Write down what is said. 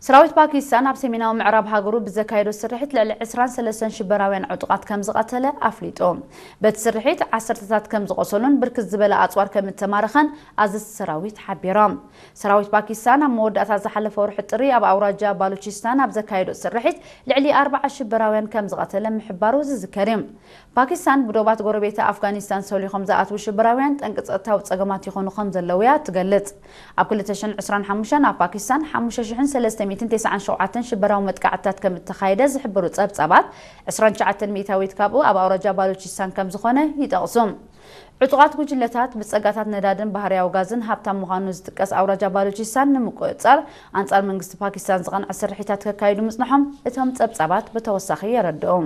ሰራዊት ፓኪስታን ኣብ ሰሜናዊ ምዕራብ ሃገሩ ብዘካየዶ ስርሒት ልዕሊ ዕስራን ሰለስተን ሽበራውያን ዕጡቓት ከም ዝቐተለ ኣፍሊጡ። በቲ ስርሒት ዓሰርተታት ከም ዝቖሰሉን ብርክት ዝበለ ኣጽዋር ከም እተማረኸን ኣዘዝቲ ሰራዊት ሓቢሮም። ሰራዊት ፓኪስታን ኣብ መወዳእታ ዝሓለፈ ወርሒ ጥሪ ኣብ ኣውራጃ ባሉቺስታን ኣብ ዘካየዶ ስርሒት ልዕሊ ኣርባዓ ሽበራውያን ከም ዝቐተለ ምሕባሩ ዝዝከር እዩ። ፓኪስታን ብዶባት ጎረቤታ ኣፍጋኒስታን ሰሊኾም ዝኣትዉ ሽበራውያን ጠንቂ ጸጥታዊ ጸገማት ይኾኑ ከም ዘለዉ እያ ትገልጽ። ኣብ ክልተ ሽሕን ዕስራን ሓሙሽተን ኣብ ፓኪስታን ሓሙሽተ ሽሕን ሰለስተ ሚእትን ተስዓን ሸውዓተን ሽበራዊ መጥቃዕትታት ከም እተኻየደ ዝሕብሩ ጸብጻባት፣ ዕስራን ትሽዓተን ሚእታዊት ካብኡ ኣብ ኣውራጃ ባሉቺስታን ከም ዝኾነ ይጠቕሱ። ዕጡቓት ጉጅለታት ብጸጋታት ነዳድን ባህርያዊ ጋዝን ሃብታም ምዃኑ ዝጥቀስ ኣውራጃ ባሉቺስታን ንምቁጽጻር ኣንጻር መንግስቲ ፓኪስታን ዝቐንዐ ስርሒታት ከካይዱ ምጽንሖም እቶም ጸብጻባት ብተወሳኺ የረድኡ።